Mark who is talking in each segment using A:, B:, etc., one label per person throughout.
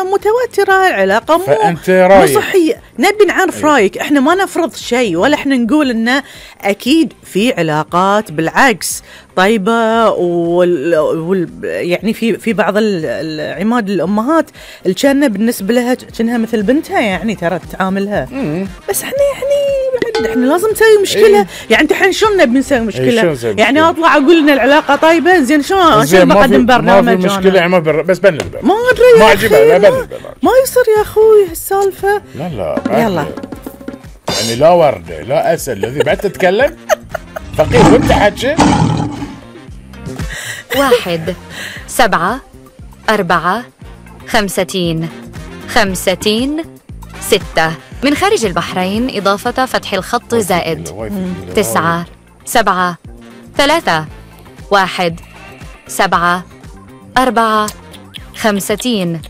A: متوترة، العلاقة مو صحية. نبي نعرف رايك، احنا ما نفرض شيء ولا احنا نقول انه اكيد في علاقات بالعكس طيبة يعني في بعض العماد الامهات الجنة بالنسبة لها كأنها مثل بنتها، يعني ترى تعاملها. بس احنا احنا لازم نسوي مشكلة. يعني انت الحين شلون نبي نسوي مشكلة؟ يعني اطلع اقول ان العلاقة طيبة، زين شلون بقدم برنامج؟
B: ما في مشكلة بس بنلبل
A: ما ادري
B: ما عجبها
A: ما يصير يا اخوي هالسالفة.
B: لا
A: يلا
B: يعني لا وردة لا اسد الذي بعد تتكلم فقير وانت حاجة.
C: 1 7 4 50 6 من خارج البحرين إضافة فتح الخط زائد 9 7 3 1 7 4 50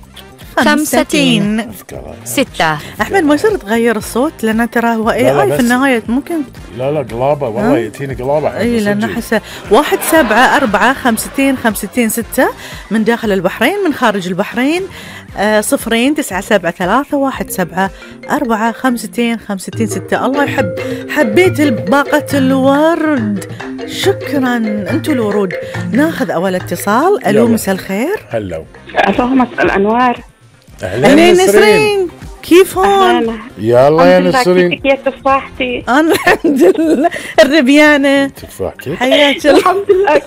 C: 6.
A: أحمد ما يصير تغير الصوت لأن ترى هو AI في النهاية ممكن.
B: لا قلابة والله يأتيني قلابة.
A: اي لأن حسه 1 7 4 50 6 من داخل البحرين، من خارج البحرين 0 9 7 3 1 7 4 50 6. الله حبيت باقة الورد. شكرا انتوا الورود. ناخذ اول اتصال. الو مساء الخير.
D: هلو مساء الانوار.
A: اهلا نسرين، كيفون؟
B: يلا يا نسرين.
D: كيف يا تفاحتي؟
A: انا الحمد لله. الربيانه
B: تفاحتي
A: حياك الله.
D: الحمد لله.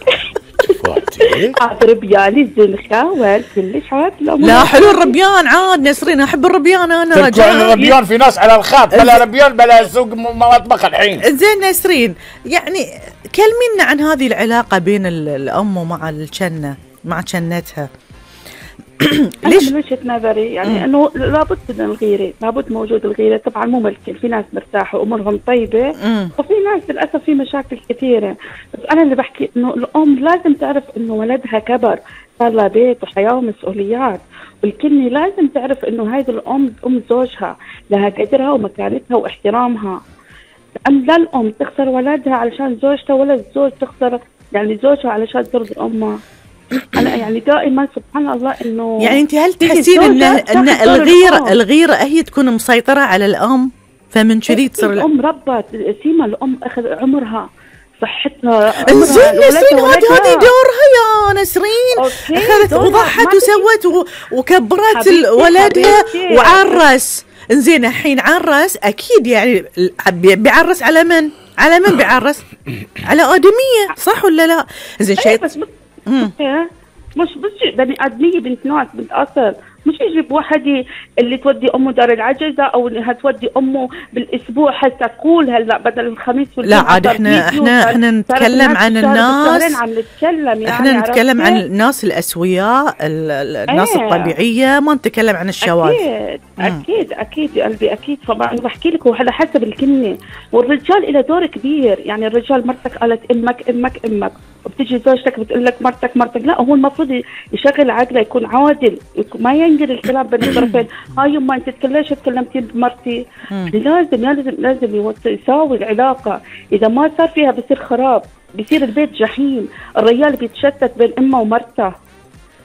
B: تفاحتي
D: عاد ربياني الزنخه كلش عاد.
A: لا حلو الربيان عاد نسرين، احب الربيان انا.
B: رجال الربيان في ناس على الخط بلا ربيان بلا سوق مطبخ الحين.
A: زين نسرين، يعني كلمينا عن هذه العلاقه بين الام ومع الجنه مع جنتها.
D: ليش؟ من وجهة نظري يعني انه لابد من الغيرة، لابد موجود الغيرة. طبعا مو ملكين، في ناس مرتاحة وامورهم طيبة وفي ناس للاسف في مشاكل كثيرة. بس انا اللي بحكي انه الام لازم تعرف انه ولدها كبر، صار لها بيت وحياة ومسؤوليات، والكلمة لازم تعرف انه هذه الام ام زوجها، لها قدرها ومكانتها واحترامها. لا الام تخسر ولدها علشان زوجته، ولا الزوج تخسر يعني زوجها علشان ترضي امها. أنا يعني دائما سبحان الله إنه
A: يعني أنت هل تحسين إن الغيرة هي تكون مسيطرة على الأم، فمن كذي تصير
D: الأم ربت سيما، الأم أخذ عمرها صحتها.
A: زين نسرين هذه دورها يا نسرين. أخذت وضحت وسوت وكبرت ولدها وعرس. زين الحين عرس أكيد يعني بيعرس على من؟ على من بيعرس؟ على آدمية صح ولا لا؟ زين شيء
D: مش بني آدمية، بنت ناس، بنت أصل. مش يجيب واحد اللي تودي أمه دار العجزة أو إنها تودي أمه بالأسبوع حتى كل هلا بدل الخميس
A: لا عاد احنا نتكلم عن الناس. احنا نتكلم عن الناس الأسوياء، الناس الطبيعية، ما نتكلم عن الشواذ.
D: أكيد يا قلبي أكيد. طبعا بحكي لك وعلى حسب الكلمة. والرجال له دور كبير. يعني الرجال مرتك قالت امك وبتيجي زوجتك بتقول لك مرتك. لا هو المفروض يشغل عقله، يكون عادل، ما ينقل الكلام بين الطرفين. هاي يما انت ليش تكلمتي بمرتي؟ لازم يساوي العلاقه. اذا ما صار فيها بصير خراب، بصير البيت جحيم. الرجال بيتشتت بين امه ومرته.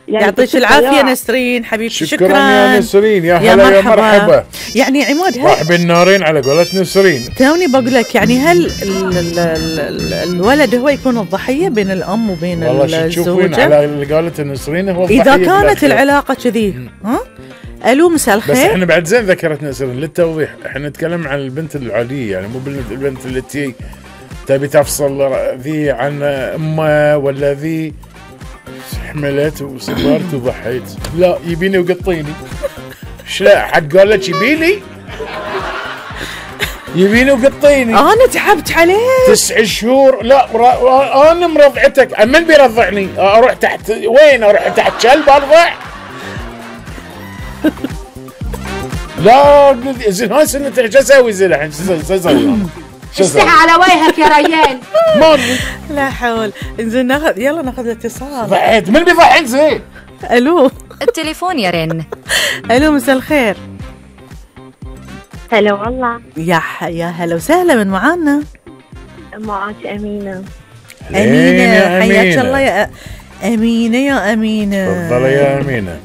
A: يعني يعطيك العافيه نسرين حبيبتي. شكرا
B: يا نسرين. يا هلا يا مرحبا.
A: يعني عماد
B: راح بالنارين على قولة نسرين.
A: توني بقول لك يعني هل الولد هو يكون الضحيه بين الام وبين الزوجه؟
B: والله تشوفين على اللي قالت نسرين هو الضحيه
A: اذا كانت العلاقه كذي. ها الو مساء الخير.
B: بس احنا بعد زين ذكرت نسرين للتوضيح، احنا نتكلم عن البنت العاديه، يعني مو بالبنت اللي تبي تفصل ذي عن امه ولا ذي حملت وصبرت وضحيت. لا يبيني وقطيني. لا حد قال لك يبيني وقطيني.
A: انا تعبت عليه
B: 9 شهور. لا انا مرضعتك. من بيرضعني؟ اروح تحت وين؟ اروح تحت كلب ارضع؟ لا زين هاي سنتك شو اسوي زين الحين؟ شو اسوي؟
C: اشتحى على وجهك يا ريان.
A: لا حول. زين يلا ناخذ الاتصال.
B: ضحيت. من بيضحك زين؟
A: الو
C: التليفون يرن.
A: الو مساء الخير.
E: هلا والله.
A: يا هلا وسهلا. من معانا؟
E: معك أمينة.
A: أمينة حياك الله يا أمينة.
B: تفضلي يا أمينة.